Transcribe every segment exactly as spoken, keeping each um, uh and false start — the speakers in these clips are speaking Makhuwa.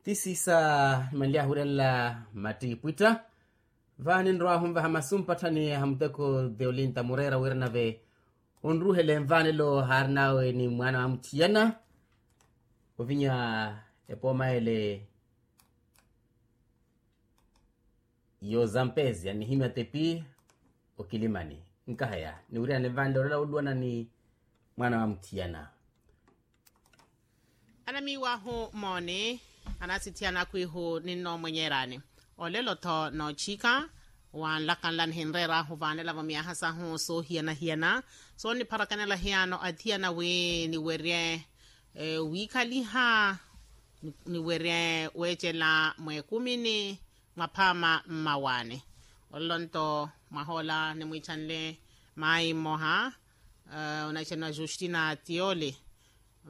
Ti siisa nimanly'ahu wiirelela mattiipwitta. Vaani nrow'ahu onvaha masu mpatthani a muteko theolinta mureera wira nave onruhele nvaanelo haarin'awe ni mwaana wa mutthiyana ovinya epooma ele. Yo zampezia nihimya tepi okilimani nkahaya niwirihane nvaanelo olela oluwana ni mwaana wa mutthiyana. Anamiiwahu mooni anasitthiyana akwiihu ninnoomwenyeerani. Olelo-tho noochika wanlakanla nihinreer'ahu vaanelavo myaha sahu soohiyana-hiyana soonnipharakanela hiyano athiyana wi niwerye wiikhaliha niwerye weecela mweekumini mwaphaama mmawaani. Olelo-nto mwahoola nimwiichanle maayi mmoha onaichanwa justina tioli.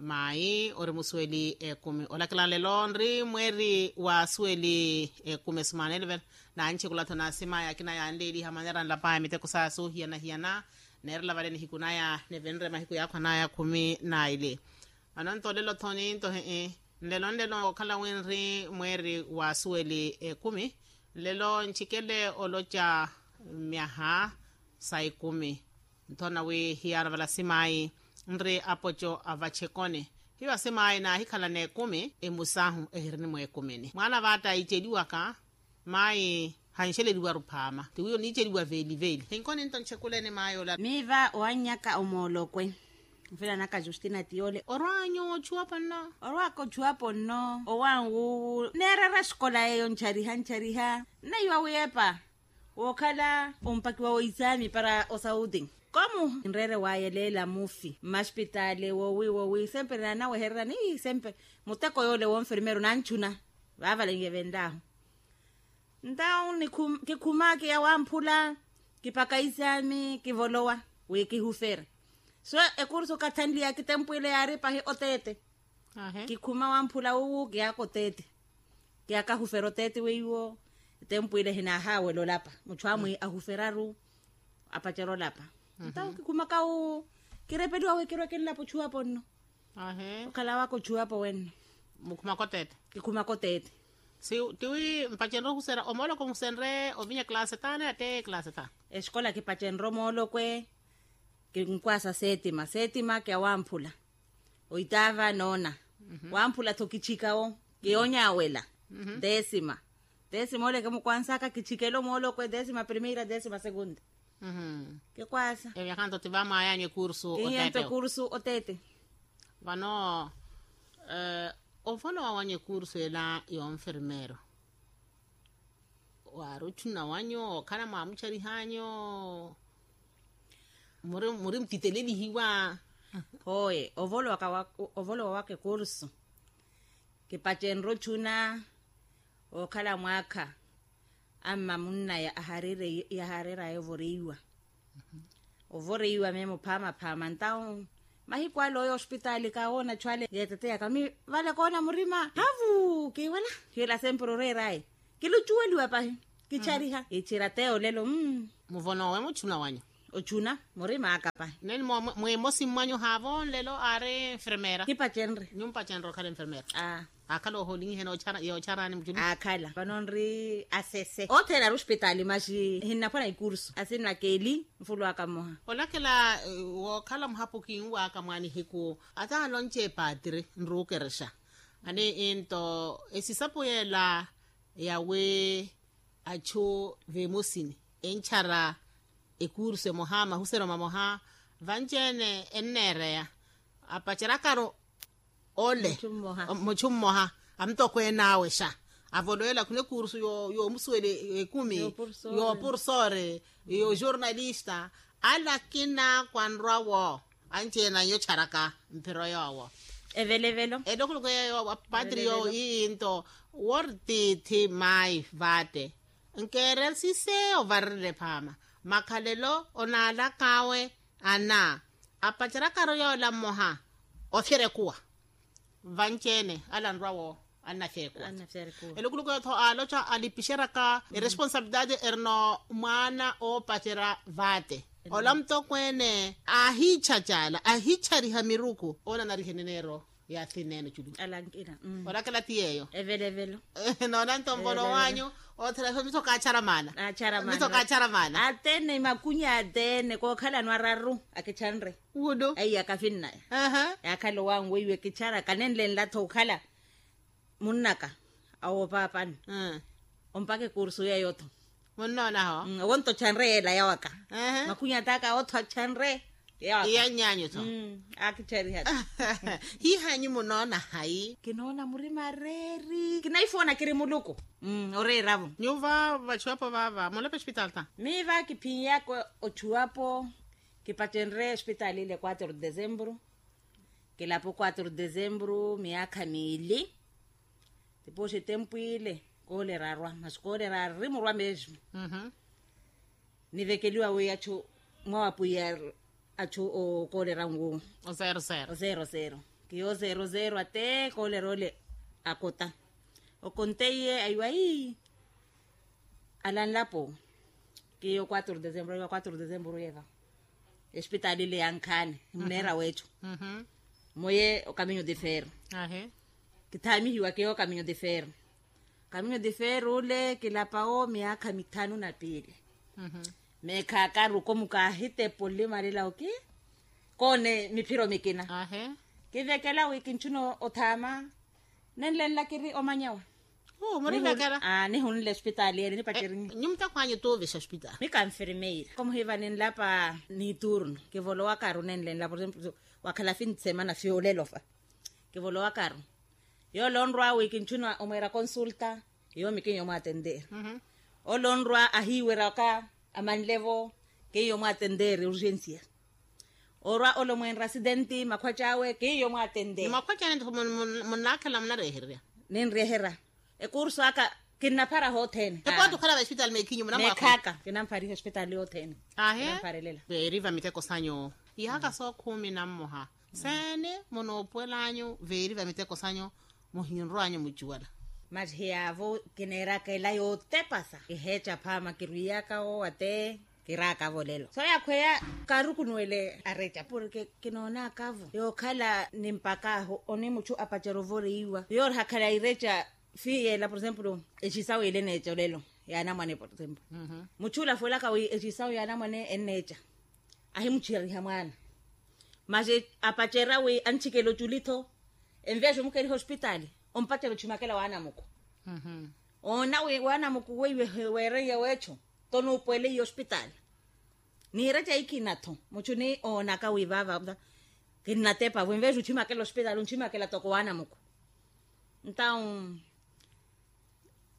Maayi ori musuweli ekumi olakela nlelo nri mweeri wa suweli ekumi esimaana elivela. Nanchikula-tho nasimaya akina yanleeliha maneera nlapaya miteko saya soohiyana-hiyana neerela vale nihiku naya nivinre mahiku yaakhwa naya khumi naili. Vano-nto olelo-tho ninto hii nlelo nlelo okhala wi nri mweeri wa suweli ekumi. Nlelo nchikele oloca myaha sa ekumi. Nthona wi hiyaana vala simaayi nri apoco a vachekoni hiyo asimayi naahikhala n'ekumi emusahu ehirini mweekumini mwaana vaatta iiceliwaka. Mayi hanxeleliwaru phaama tiwiyo niiceliwa veeli-veeli hinkoni nto nchekuleni mayi ola. Miiva owannyaka omoolokwe nfilanaka justina tiyole orwaanyu ochuwa ponno orwaaka ochuwa ponno owanwuwu neerera esikola yeeyo nchariha nchariha nnaiwa wi epa wookhala ompakiwa woisaami para osauti. Komu nreere waayeleela mufi mmaspitaali wowi wowi sempre naanawehererani ii sempre muteko yoole wonfermeru nanchuna vaavalenke venlaahu. Ntawu kikhuma kiya wamphula kipaka isaami kivolowa wi kihufere so ekursu kathanliya kitempwile yaari pahi oteete. Kikhuma wamphula wuwu kiyaka oteete kiyaka ahufera oteete weiwo. Etempwile hinaahawela olapa mutthu amwi ahuferaru apacerya olapa. Ntawo kikhumaka wuwu kirepeliwa wi kirwe kinlapa ochuwapo nno. Okhala waka ochuwapo wenno. Mukhumaka oteete kikhumaka oteete. Si tiwi mpacenre ohuserya omoolokwe musenre ovinya classe taani ate classe taani? Esikola kipacenre omoolokwe kinkwasa setima setima kiya wamphula oitaava noona wamphula-tho kichikawo kiyoonyawela. Desima desima ole kimukwansaka kichikela omoolokwe desima primeira desima segunda. Kikwasa eyo yakanto ti vamwayanyu ekursu oteete. Vano ovolowa wanyu ekursu ela yonfermeero waari ochuna wanyu okhala mwamucharihanyu muri mutitelelihiwa? Hooye ovolowa waka ekursu kipacenre ochuna okhala mwaakha amma munna yahareeraya ovoreiwa. Ovoreiwa meemo phaama phaama ntawu mahiku ale oyo ospitaali kaawoona achu ale yeeteteyaka mi vale koona murima havu kiwala hiila sempre oreeraye kilucuweliwa pahi kichariha ichira te olelo. Muvonowe muchuna wanyu ochuna murimaaka pahi neni mweemosi mmwanyu haavo nlelo aari nfermeera kipacenre nyumpacenre okhala enfermeera. Aakhala oholinyihe yoocharaani muchuna aakhala vano nri asese othene ari ospitaali maxi hinnaphwana ikursu asinnaka eli nfulu aka mmoha. Olakela wookhala muhapu kinwaaka mwa nihiku ata alonce epatiri nrukerexa ani into esisapu yeela yawi achu vemosini enchara ekursu emoha mahuseryo mamoha vanci-ene enneereya apacerakaru ole muchu mmoha amutokwene awe xa avoloyela khuna ekursu yoomusuwela ekumi yoopursore yoojornalista ale akina kwanrwa wo anci-ene anyu ocharaka mphiro yoowo evelevelo ele okhuluku yeeyo patri yoowo ii nto wortiithi maayi vaate nkeerensise ovarerele phaama makhalelo onaalak'awe ana apacerakaru yoola mmoha ofyerekuwa vanci-ene ale anrwa wo annafyerekuwa. Elukulukweyo-tho aaloca alipixeryaka eresponsabilidade erino mwaana oopacerya vaate ola mutokweene aahiichacaala ahiichariha miruku oona anariheneneero Yaathi neene oculi. Alankina. Olakela ti yeeyo. Evelevelo. Noona nto nvolo wanyu. Othela ife miso kaachara maana. Miso kaachara maana. Atene makunya atene kookhalano araru akichanre. Wudo aiya kafinnaya. Yaakhala owanwe iwe kichara kanenlenla-tho okhala munnaka awo paapani. Ompaka ekursu yeeyo-tho. Munnoonaho. Owonto ochanre yeela yawaka. Makhunyi ataka awotho achanre yawaka. Iya nnyaanyu-tho. Akichariha-tho. Hiihanyu munoona hayi? Kinoona murima reeri kinaifoona kiri muluku. Oreeravo nyuva vachuwapo vava mulepa espitali ta. Miiva kiphinyaka ochuwapo. Kipacenre espitali ile quatro de dezembro. Kilapo quatro de dezembro miyaakha miili. Tipoxi tempu ile koolera arwa masi koolera ari murwa mesmo. Nivekeliwa wi achu mwawa pwiya achu okoolera ngu. Ozero zero kiyo zero zero ate koolera ole akota. Okonteiye aiwa ii. Alanlapo kiyo quatro de dezembro aiwa quatro de dezembro yeva. Espitali ile yankhaani muneera weechu. Moye okaminyo de ferro. Kithaamihiwa keyo okaminyo de ferro. Okaminyo de ferro ule kilapawo miyaakha mithanu na piili. Meekhaakaru komuka ahitepo nlimalela oki koone miphiro mikina. Kivekela wi kinchuna othaama nenlenla kiri omanyawa. Nihunle ospitali ele nipaterinyi nyumutako anyu tuuvixa ospitali. Mikanfirmeira komuhiva ninlapa niturno. Kivolowakaru nenlenla por exemplo wakhala fin de semana fiyolelo fa. Kivolowakaru yoole onrwa wi kinchuna omweera consulta. Yoomi kiiyo mwaatenteeri. Ole onrwa ahiiwerya waka amanlevo kiiyo mwaatenteeri urgensia. Orwa ole omweenra asidenti makhwaci awe kiiyo mwaatenteeri. Makhwaci ane nto munnaakhela munareehererya. Ninreehera ekursu aka kinnaphara hothene. Epooti okhala va espitali meekhinyu munamwaakhu meekhaaka kinamphariha espitali yothene. Kinampharilela. Veeri va miteko sanyu ihaaka sookhumi na mmoha. Seene munoopuwelanyu veeri va miteko sanyu muhinrwanyu mucuwela. Masi hiyaavo kineeraka ela yootepasa kiheeca phaama kirwiyaka owo ate kiraakavo lelo so yakhweya kaarukunuwele areca porke kinoonakavo yookhala nimpakaahu oni muchu apacera ovoreiwa yoori hakhala ireca. Fiiyela por exemplo ecisawu ile eneeca olelo yaanamwane por exemplo muchu ulafuwelaka wi ecisawu yaanamwane enneeca ahimuchiheriha mwaana. Masi apacera wi anchikela oculi-tho enveexa omukeriha ospitali ompacera ochimakela waanamuku. Oona wi waanamuku weiwe weereiye weecho tonuupuwele iye ospitali. Niireca ikina-tho muchu ni oonaka wi vaava kinnatepa vo enveexa ochimakela ospitali onchimakela toko waanamuku. Ntawu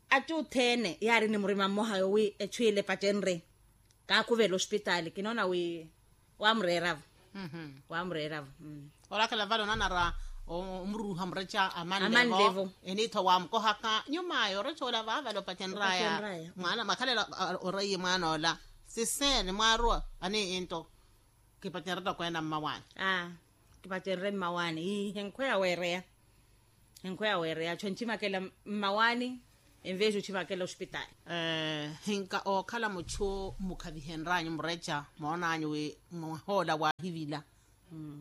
achu othene yaari ni murima mmoha yowi echu ile epacenre kaakhuvela ospitali kinoona wi waamureeravo. Waamureeravo. Orakela vale onanara omururuha mureca amanlevo eniitho waamukohaka nyuma ayo oreca ola vaavale opacenraya mwaana mwakhalela oreiye mwaana ola siseni mwaaruwa aniinto. Kipacenre toko ena mmawaani. Kipacenre mmawaani ii henkhweya weereya. Henkhweya weereya achu enchimakela mmawaani enveexi ochimakela ospitali. Hinka ookhala muchu mukhavihenryanyu mureca moonanyu wi mwahoola waahivila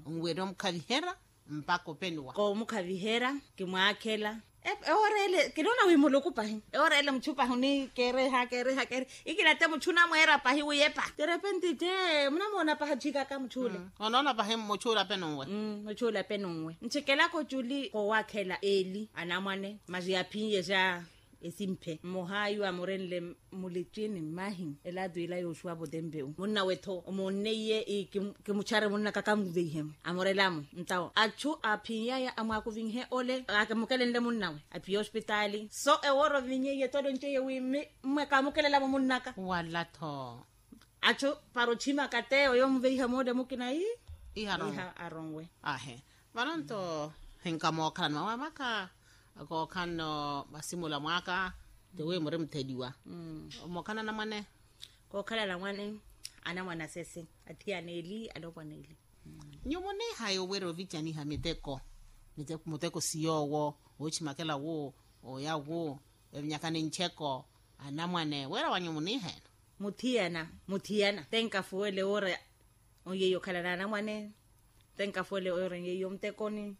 nwerya omukhaviherya mpakha openuwa. Koomukhaviherya kimwaakhela. Ewoora ele kinoona wi muluku pahi ewoora ele muchu pahi onikeereha keereha keereha ikina te muchu onamweera pahi wi epa terepenti te munamoona pahi achikaka muchu ole. Onoona pahi muchu ole apenunwe. Muchu ole apenunwe nchikelaka oculi koowakhela eli anamwane masi aphiye ja esimphe mmoha iwo amurenle. Mulici ni mmahi elaatu ila yooxuwa potempeu munnawe-tho omoonneiye kimuchare munnaka kamuveihemo amurelamo ntawo achu aphinyaya amwaakuvinhe ole amukelenle munnawe aphiye ospitaali so ewoora ovinyeiye tole onceiye wi mme kaamukelelamo munnaka wala-tho. Achu para ochimaka te oyo omuveiha moole mukina ii iha aronwe. Ahe vano nto hinka mookhalano mawamaka kookhalano masimula mwaka tiwi muri mutheliwa. Mookhalano anamwane kookhalano anamwane anamwane asese athiyana eli alopwana eli. Nyuwo muniihayi owerya ovicaniha miteko miteko muteko siyoowo ochimakela wu oya wu evinyaka ni ncheko anamwane wira wanyu muniihayana. Muthiyana muthiyana te nkafuwele woora onyeyi okhalana anamwane te nkafuwele woora onyeyi omuttekoni.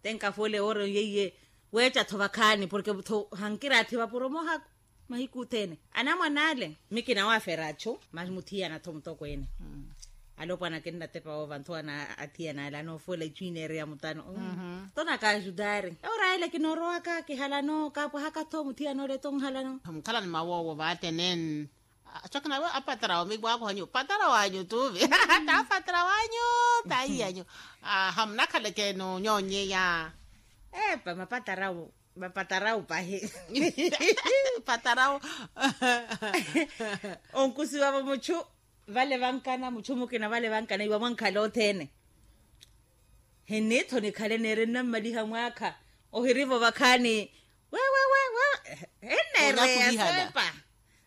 Tenka fole oro yeiye. Weeca tho vakhaani porke tho hankiraathi vapuro mohako. Mahiku othene anamwan'ale. Mi kinawafera achu masi muthiyana tho mutokweene. Alopwana kinnatepa woova ntho ana athiyana ale anoofuwela ichu ineereya mutano. Tho nakaaxutari ewora ele kinoorowaka kihalano kaapwahaka tho muthiyana ole tho nhalano. Mukhalani mawoowo vaatene. Achokina we apatara wa mikwakohanyu patara wanyu tuve. Tapatara wanyu. Taiyanyu. Hamunakhaleke nonyonyeya. Epa mapatarawu. Mapatarawu pahi. Patarawu. Onkusiwa vamuchu vale vankana muchu mukina vale vankana iwa mwankhala othene. Hinitho nikhale neere nnammaliha mwaakha. Ohirivo vakhaani. Wewewewe. Enneereya sepa.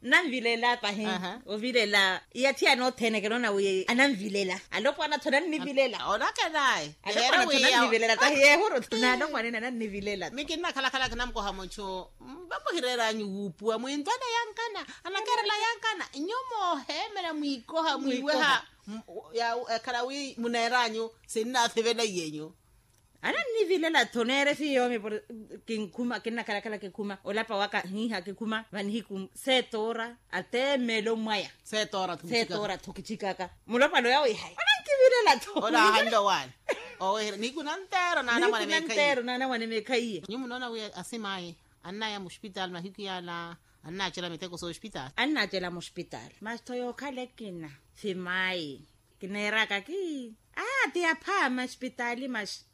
Nnanvilela pahi. Ovilela iyathi anothene kinoona wi ananvilela alopwana tho nannivilela. Olakenaye. Alopwana tho nannivilela tahi yehuru tho nalopwana ena nannivilela. Mi kinnakhalakhala kinamukoha muchu. Vamuhireeranyu wuupuwa mwintwana yankana anakerela yankana. Nyu mooheemela mwiikoha mwiiweha. Ekhala wi muneeranyu sinnathivela iyenyu. Anannivilela tho neere fiiyoomi. Kinkhuma kinnakhalakhala kikhuma olapa waka hiiha kikhuma vanihiku. Seetoora ateemelo mwaya. Seetoora tho kichikaka. Mulopwana oya wiihayi anankivilela tho. Olahanle owaani. Owehere nihiku nanteero naanamwane meekhayiye. Nyu munoona wi asimaayi annaya muxpitaali mahiku yaala. Annaacela miteko sooxpitaali. Annaacela muxpitaali masi tho yookhala ekina. Simaayi kineeraka kii. Aa ti aphaama expitaali masi.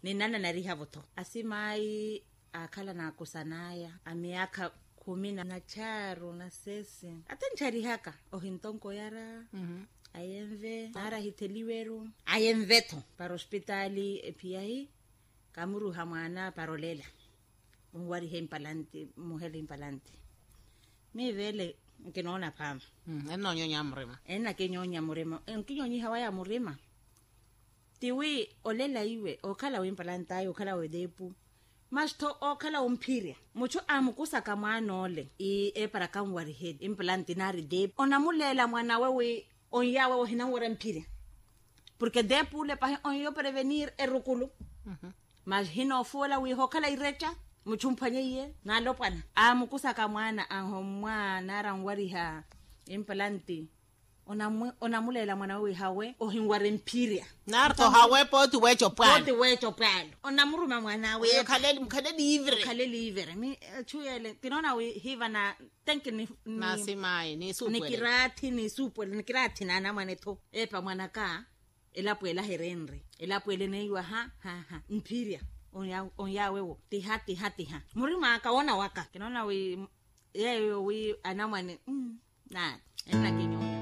Ninananariha-vo tho asimaayi. Aakhala naakusan'aya a miyaakha khumi na charu na sesi. Atinchari haka ohintonko yara. Ayenve naari ahitheliweru ayenve-tho para ospitaali ephiyahi. Kamuruha mwaana para olela onwariha empalanti muhela empalanti. Miivele nkinoona phaama. Ennoonyoonya murima ennakinyoonya murima nkinyoonyiha waya murima. Tiwi olela iwe okhala wimpalant'aya okhala weteepu. Masi tho okhala womphirya muchu amukusaka mwaan'ole ii eparaka onwarihe impalanti naari teepu onamuleela mwan'awe wi onyaawe wohinanwerya mphirya. Porke teepu ole pahi onyoprevenir erukulu. Masi hinoofuwela wi hookhala ireca muchu mphwanye iye naalopwana amukusaka mwaana ahommwa naari anwariha impalanti. Onamuleela mwan'awe wi hawe ohinwari mphirya. Naari tho hawe pooti weeca opwaalo. Pooti weeca opwaalo onamuruma mwan'awe. Mukhaleli ivere. Mukhaleli ivere mi echu yele kinoona wi hiva na tenki ni. Nasimaayi niisuupwele nikiraathi niisuupwele nikiraathi naanamwane-tho. Epa mwanaka elapo ela herenre elapo ele neiwa ha ha ha mphirya. Onyaawe wo tiha tiha tiha murim'aka woona waka kinoona wi yeeyo wi anamwane. Naani ennaki